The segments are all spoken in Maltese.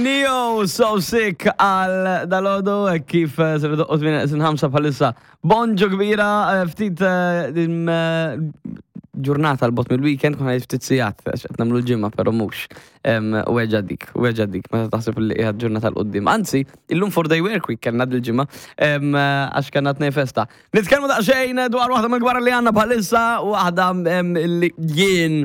Neo So Sick għal dalodu eh, kif eh, ser doqqot minn sin ħamsa bħalissa. Bonġu kbira, eh, ftit ġurnata l-bot mill-weekend, kuna ftit sijat, għax qed nagħmlu l-ġimgħa, però mhux. Weġa dik, weġa dik, meta taħseb li qiegħed ġurnata l-qoddim. Anzi, illum four day work week kellna dil-ġimgħa, għax kellna tnej festa. Nitkellmu daqsxejn dwar waħda mill-gwara li għandna bħalissa, waħda li jien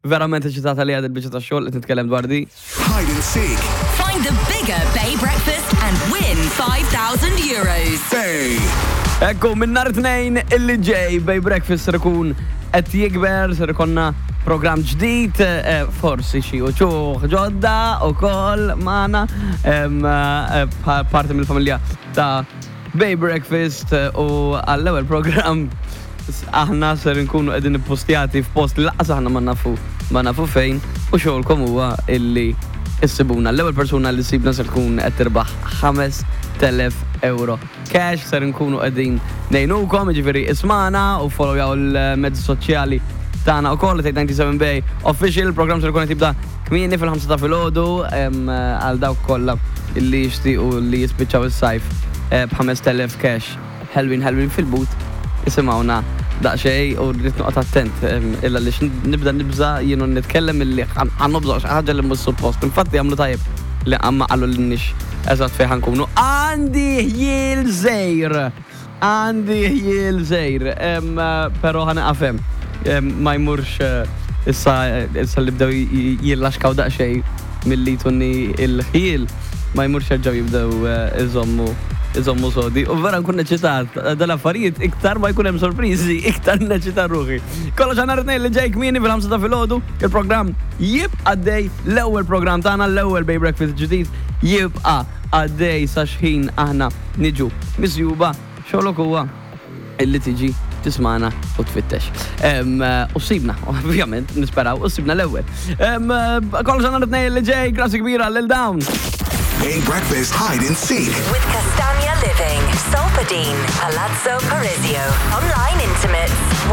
verament eċitata li għad il-biċċa ta' xogħol qed nitkellem dwar di. Hide and seek. Find the bigger Bay Breakfast and win 5,000 euros. Bay. Ekku, minn nhar tnejn illi ġej Bay Breakfast ser ikun qed jikber, ser ikonna program ġdid, eh, forsi xi uċuħ ġodda ukoll magħna eh, parti mill-familja ta' Bay Breakfast eh, u għall-ewwel program aħna ser nkunu qegħdin ippostjati f'post li lanqas aħna ma nafu ma nafu fejn u xogħolkom huwa illi issibuna. L-ewwel persuna li ssibna ser tkun qed tirbaħ 5000 euro cash ser nkunu qegħdin ngħinukom, jiġifieri ismana u followjaw il-mezzi soċjali tagħna wkoll 97 Bay Official, il-programm ser ikun qed jibda kmieni fil-5 ta' filgħodu għal dawk kollha li jixtiequ li jispiċċaw is-sajf eh, b'5000 cash ħelwin ħelwin fil-but isimgħuna daqsxejn u rrid noqgħod attent illa li nibda nibża' jien u nitkellem illi ħa nobżoq xi ħaġa li mhux suppost. Infatti għamlu tajjeb li ma qalulniex eżatt fejn ħa nkunu. Għandi ħjiel żgħir! Għandi ħjiel żgħir, però ħa nieqaf hemm. Ma jmurx issa issa li bdew jillaxkaw daqsxejn milli jtuni l-ħjiel, ma jmurx jerġgħu jibdew iżommu iżommu sodi. U vera nkun eċitat, dal-affarijiet iktar ma jkun hemm sorpriżi, iktar neċita ruħi. Kollox għal nhar it-Tnejn li ġej kmieni fil-5 ta' filgħodu, il-programm jibqa' għaddej, l-ewwel programm tagħna, l-ewwel Bay Breakfast ġdid jibqa' għaddej sa xħin aħna niġu misjuba, xogħlok huwa illi tiġi tismana u tfittex. U sibna, ovvjament, nisperaw, u sibna l-ewwel. Kollox għandna tnejn li ġej, grazzi kbira lil dawn. Bay Breakfast Hide and Seek. With Castagna Living, Solpadeine, Palazzo Parisio, Online Intimates.